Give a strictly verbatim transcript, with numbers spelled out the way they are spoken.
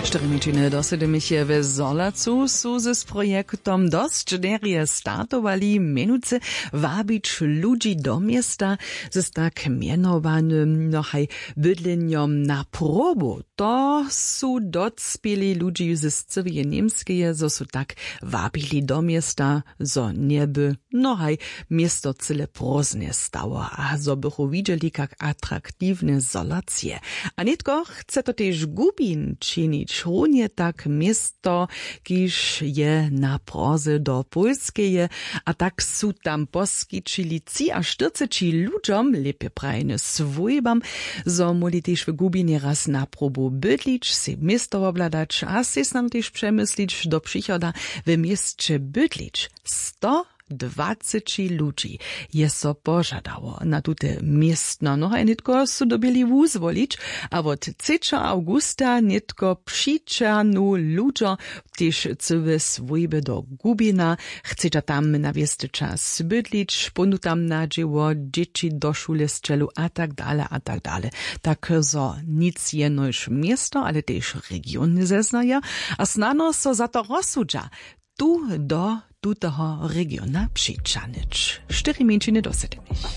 Štyri mjeńšiny do sydymiche w Zolacu su z projektom dosć derje startowali, mjenujcy wabić ludźi do města z tak mjenowanym nohaj bydlenjom na probu. To su docpěli ludźi z cyłeje Němskeje, zo su tak wabili do města, zo njeby nohaj město cyle prózdne stało a zo bychu widźeli, kak atraktiwne Zolac je. A nětko chce to tež Gubin činić, runje tak město, kiž je na proze do Pólskeje. A tak su tam poskićili třiaštyrceći ludźom, lěpje prajene swójbam, zo móhli tež w Gubinje raz na probu bydlić, sej město wobhladać a sej snano tež přemyslić do přichoda, w měsće bydlić. Sto dwaceći ludźi je so požadało na tute městna, no a nětko su dyrbjeli wuzwolić. A wot třećeho awgusta nětko přićahnu ludźo tež cyłe swójby do Gubina. Chcedźa tam na wěsty čas bydlić, pónu tam na dźěło, dźěći do šule sćelu a tak dale a tak dale. Tak zo nic jenož město, ale tež region zeznaja a snano so za to rozsudźa, tu do tutoho regiona přićahnyć. Štyri mjeńšiny do sydymiche.